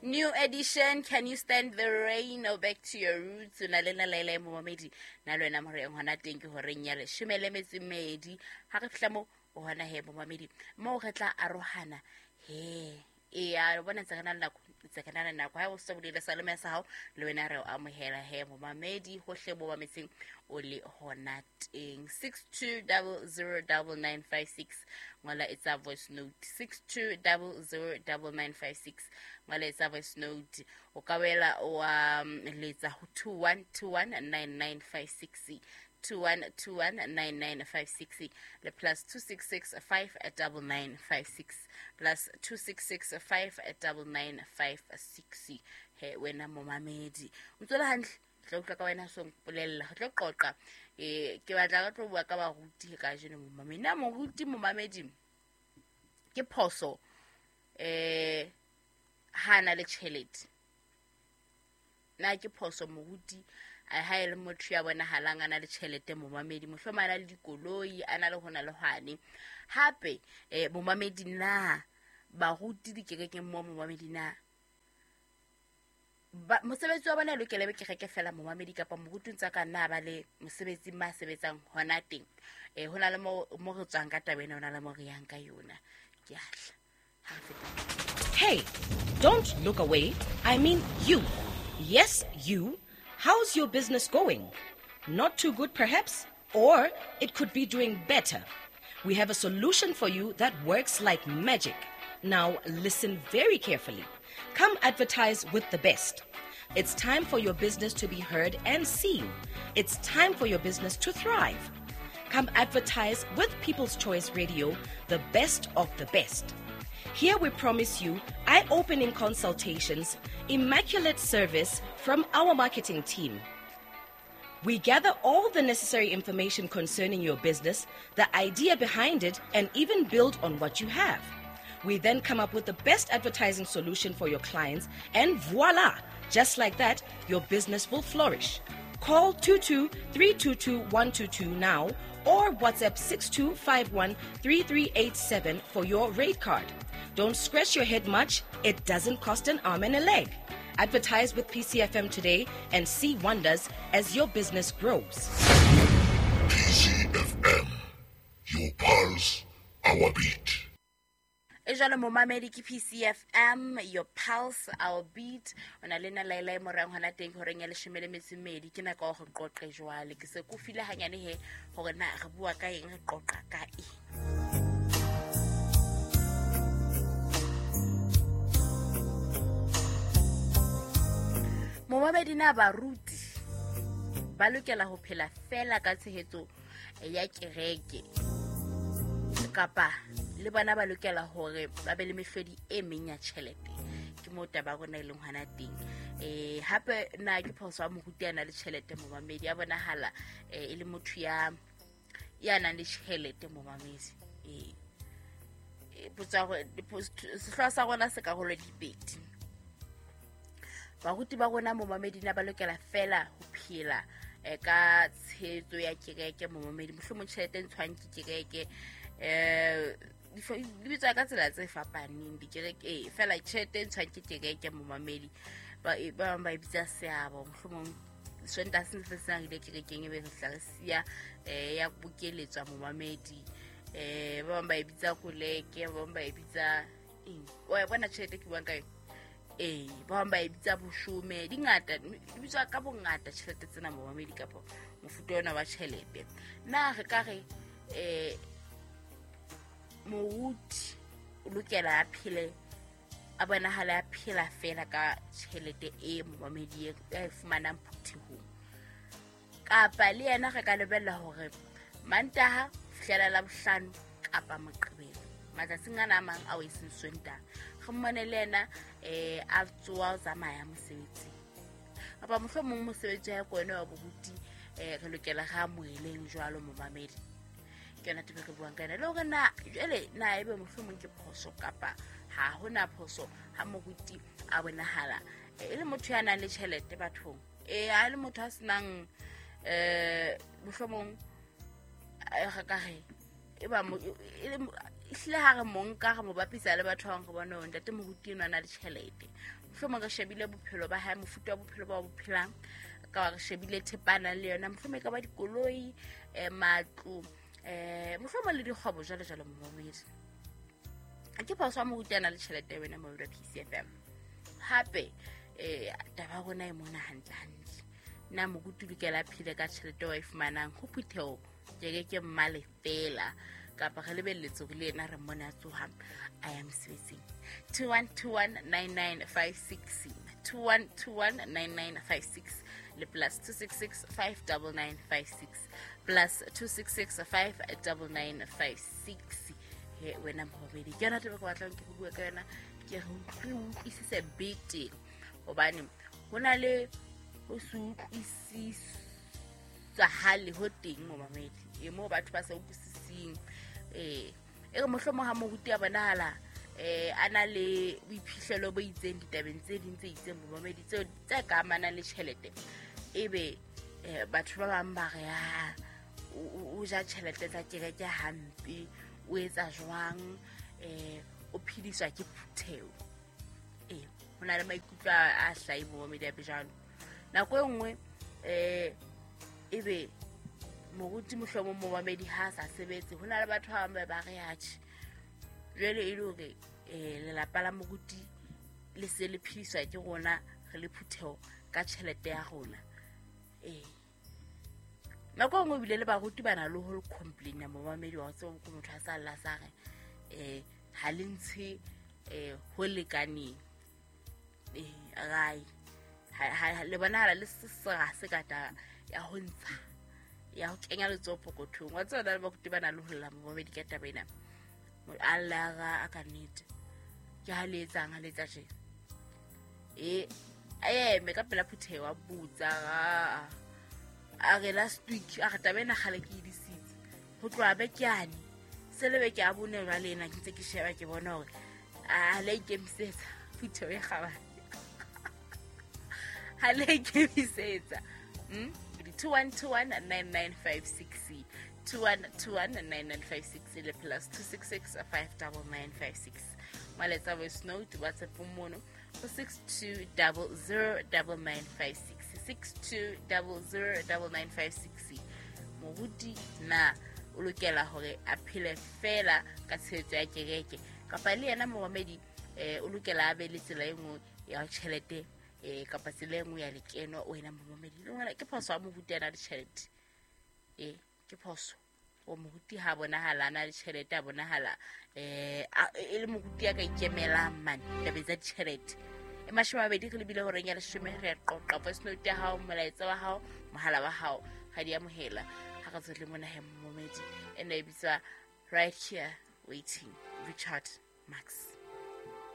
New Edition, Can You Stand the Rain or Back to Your Roots? O na le nna Laila momamedi, na le wena moreng hona teng ke horeng ya leshome le metso e mmedi. Ha re fihla mo o hona he momamedi, moo re tla arohana he. Eya, o bona ntse re na le nako, ntse re na le nako. Ha o se bolele sa leme sa hao, le wena re o amohela he momamedi, hohle mo mametseng o le hona teng. 62009956 ngola etsa voice note. 62009956 ngola etsa voice note. O ka boela wa letsa ho 21219956, 21219956 le plus 266 59956, plus 266 59956. He wena momamedi, o ntse o le hantle? Tla utlwa ka wena, so mpolella re tlo qoqa. Ke batla re tlo bua ka baruti kajeno momamedi. Na moruti momamedi ke phoso ha na le tjhelete? Na ke phoso moruti ha e le motho ya bonahalang a na le tjhelete momamedi, mohlomong a na le dikoloi, a na le hona le hwane? Hape momamedi, na baruti dikerekeng mo momamedi, na mosebetsi wa bona e lokela be kereke fela momamedi, kapa moruti ntse a ka nna ba le mosebetsing ma sebetsang hona teng? Ho na le mo re tswang ka taba ena, ho na le mo re yang ka yona. Ke a tla ha re feta. Hey, don't look away. I mean you. Yes, you. How's your business going? Not too good, perhaps? Or it could be doing better. We have a solution for you that works like magic. Now, listen very carefully. Come advertise with the best. It's time for your business to be heard and seen. It's time for your business to thrive. Come advertise with People's Choice Radio, the best of the best. Here we promise you eye-opening consultations, immaculate service from our marketing team. We gather all the necessary information concerning your business, the idea behind it, and even build on what you have. We then come up with the best advertising solution for your clients, and voila! Just like that, your business will flourish. Call 22 322 122 now or WhatsApp 6251 3387 for your rate card. Don't scratch your head much, it doesn't cost an arm and a leg. Advertise with PCFM today and see wonders as your business grows. PCFM, your pulse, our beat. E jwalo momamedi, ke PCFM, your pulse, our beat. O na le nna Laila e morang hona teng horeng ya leshome le metso e mmedi. Ke nako ya hore qoqe jwale. Ke se ko file hanyane he hore na re bua ka eng, re qoqa ka eng. Momamedi, na baruti ba lokela ho phela fela ka tshehetso ya kereke, kapa le bona ba lokela hore ba be le mehlodi e meng ya tjhelete? Ke moo taba ya rona e leng hona teng. Hape na ke phoso ha moruti a na le tjhelete momamedi, a bonahala e le motho ya nang le tjhelete momamedi? Potso ya hore, sehlooho sa rona se karolo di pedi. Baruti ba rona momamedi, na ba lokela fela ho phela ka tshehetso ya kereke momamedi, mohlomong tjhelete e ntshwang ke kereke, di bitswa ka tsela tse fapaneng dikereke, fela tjhelete e ntshwang ke kereke momamedi, ba bang ba e bitsa seabo, mohlomong Sontaha se se seng re ile kerekeng e be re tla re siya ya bokeletswa momamedi, ba bang ba e bitsa koleke, ba bang ba e bitsa eng, wa e bona tjhelete ke buang ka yona? Ba bang ba e bitsa boshome, di ngata, di bitswa ka bongata tjhelete tsena momamedi, kapa mofuta ona wa tjhelete. Na re ka re moruti o lokela a phele, a bonahala a phela fela ka tjhelete e momamedi e a e fumanang phuthehong, kapa le yena re ka lebella hore Mantaha ho fihlela Labohlano kapa Moqebelo, matsatsing ana a mang ao e seng Sontaha, re mmone le yena a tsoa o tsamaya mosebetsing, kapa mohlomong mosebetsi wa hae ke ona wa boruti, re lokela re amoheleng jwalo momamedi? Ke yona taba e re buang ka yona, le hore na jwale na ebe mohlomong ke phoso kapa ha hona phoso ha moruti a bonahala e le motho ya nang le tjhelete bathong, ha e le motho a senang, mohlomong re ka re e ba Ehlile ha re mo nka re mo bapisa le batho ba bang, re bone hore ntate moruti enwa a na le tjhelete. Mohlomong re shebile bophelo ba hae, mofuta wa bophelo ba bo phelang, ka ba re shebile thepa a nang le yona, mohlomong e ka ba dikoloi, matlo, mohlomong le dikgwebo jwalo jwalo momamedi. Ke phoso ha moruti a na le tjhelete wena momamedi wa PCFM. Hape taba ya rona e mona hantle hantle. Na moruti o lokela a phele ka tjhelete eo a e fumanang ho phutheho kereke mmale fela, kapa re lebelletse hore le yena re mmone a tsoha a ya mosebetsing? 21219956, 21219956 le +266 59956, +266 59956. He wena momamedi, ke yona taba ke batlang ke re bue ka yona, ke re utlwisise betere, hobane ho na le ho se utlwisisahale ho teng momamedi, e moo batho ba sa utlwisising. E re mohlomong ha moruti a bonahala a na le boiphihlelo bo itseng ditabeng tse ding tse itseng momamedi, tseo tse ka amanang le tjhelete, ebe batho ba bang ba re a o ja tjhelete tsa kereke hampe, o etsa jwang, o phediswa ke phutheho. Ho na le maikutlo a hlahi momamedi a bejalo. Nako e nngwe ebe moruti mohlomong momamedi ha a sa sebetse, ho na le batho ba bang ba re atjhe, jwale e le hore lelapa la moruti le se le phediswa ke rona re le phutheho ka tjhelete ya rona. Nako e nngwe ebile le baruti ba na le ho complain-a momamedi, wa tseba ko motho a sa lla sa re ha le ntshe ho lekaneng. Rai le bonahala le sera se ka taba ya ho ntsha, ya ho kenya letsoho pokothong. Wa tseba le baruti ba na le ho lla momamedi ka taba ena. A lla a ka nnete, ke ha le etsang, ha le etsa tje. A eme ka pela phutheho a botsa, a re last week a re taba ena kgale ke e disitse, ho tloha beke yane se le beke ya bone jwale ena ke ntse ke sheba ke bona hore a le ikemisetsa phutheho e kgabane, ha le ikemisetsa. 21219956, 21219956 le +266 59956. Maletsa voice note WhatsApp mono ho 62009956, 62009956. Moruti na o lokela hore a phele fela ka tshehetso ya kereke, kapa le yena momamedi o lokela a be le tsela e nngwe ya tjhelete, kapa tsela e nngwe ya lekeno? Wena momamedi, le wena ke phoso ha moruti a na le tjhelete? Ke phoso o moruti ha bonahala a na le tjhelete, a bonahala e le moruti ya ka ikemelang mane tabeng tsa ditjhelete. E 20 re lebile horeng ya 10, re qoqa voice note ya hao, molaetsa wa hao, mohala wa hao, ga di amohela. Ha re tswele mona he momamedi, ena e bitswa Right Here Waiting, Richard Marx.